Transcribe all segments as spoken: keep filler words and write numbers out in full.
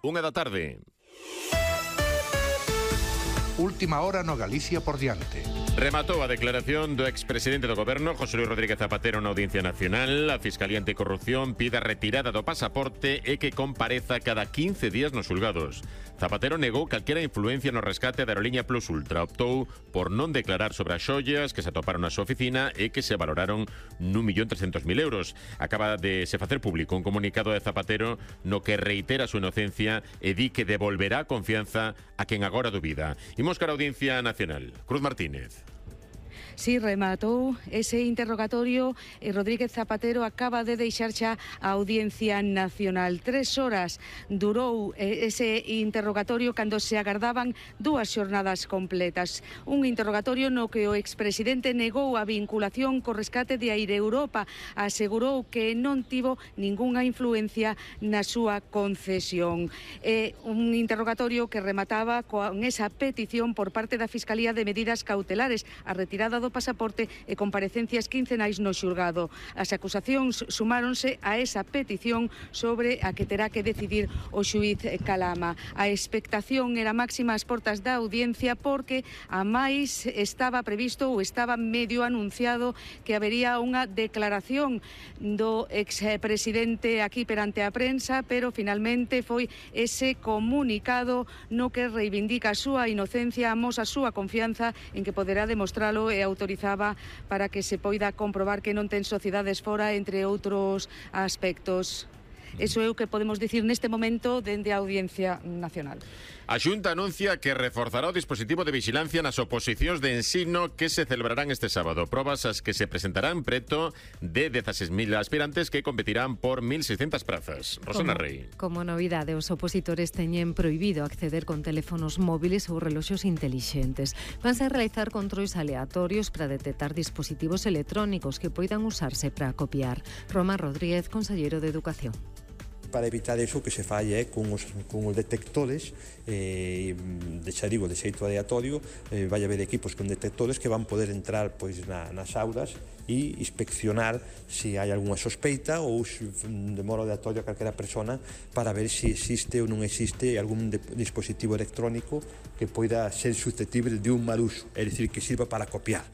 Unha da tarde. Última hora no Galicia por diante. Rematou a declaración do expresidente do Goberno, José Luis Rodríguez Zapatero, na Audiencia Nacional. A Fiscalía Anticorrupción pide a retirada do pasaporte e que compareza cada quince días nos xulgados. Zapatero negou calquera influencia no rescate da aerolínea Plus Ultra. Optou por non declarar sobre as xollas que se atoparon na súa oficina e que se valoraron nun millón trescentos mil euros. Acaba de se facer público un comunicado de Zapatero no que reitera a súa inocencia e di que devolverá a confianza a quen agora dubida. Imos cara a Audiencia Nacional. Cruz Martínez. Sí, rematou ese interrogatorio e Rodríguez Zapatero acaba de deixar xa a Audiencia Nacional. Tres horas durou ese interrogatorio cando se agardaban dúas xornadas completas. Un interrogatorio no que o expresidente negou a vinculación co rescate de Air Europa. Asegurou que non tivo ningunha influencia na súa concesión. É un interrogatorio que remataba con esa petición por parte da Fiscalía de medidas cautelares, a retirada do pasaporte e comparecencias quincenais no xulgado. As acusacións sumáronse a esa petición sobre a que terá que decidir o xuíz Calama. A expectación era máxima ás portas da audiencia porque a máis estaba previsto ou estaba medio anunciado que habería unha declaración do expresidente aquí perante a prensa, pero finalmente foi ese comunicado no que reivindica a súa inocencia, amosa a súa confianza en que poderá demostralo e autorizaba para que se poida comprobar que non ten sociedades fora, entre outros aspectos. Eso é o que podemos dicir neste momento dende a Audiencia Nacional. A Xunta anuncia que reforzará o dispositivo de vigilancia nas oposicións de ensino que se celebrarán este sábado. Probas as que se presentarán preto de dezaseis mil aspirantes que competirán por mil seiscentas prazas. Rosana como, Rey. Como novidade, os opositores teñen prohibido acceder con teléfonos móviles ou reloxos intelixentes. Vanse a realizar controis aleatorios para detectar dispositivos electrónicos que poidan usarse para copiar. Roma Rodríguez, conselleiro de Educación. Para evitar eso que se falle eh, con, os, con os detectores, eh, de xa digo, de xeito aleatorio, eh, vai haber equipos con detectores que van poder entrar pois, na, nas aulas e inspeccionar se hai algunha sospeita ou de modo aleatorio a calquera persona para ver se existe ou non existe algún de, dispositivo electrónico que poida ser susceptible de un mal uso, é dicir, que sirva para copiar.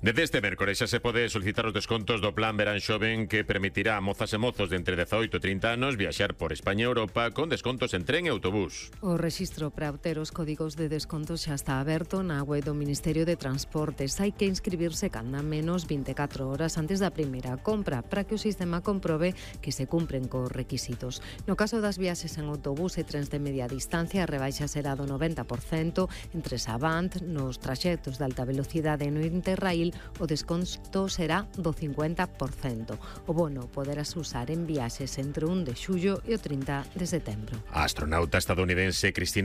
Desde este mércores xa se pode solicitar os descontos do Plan Verán Xoven que permitirá a mozas e mozos de entre dezaoito e trinta anos viaxar por España e Europa con descontos en tren e autobús. O rexistro para obter os códigos de descontos xa está aberto na web do Ministerio de Transportes. Hai que inscribirse canda menos vinte e catro horas antes da primeira compra para que o sistema comprobe que se cumpren cos requisitos. No caso das viaxes en autobús e trens de media distancia, a rebaixa será do noventa por cento entre Savant, nos traxectos de alta velocidade no Interrail o desconto será do cincuenta por cento. O bono poderás usar en viaxes entre o un de xullo e o trinta de setembro. A astronauta estadounidense Cristina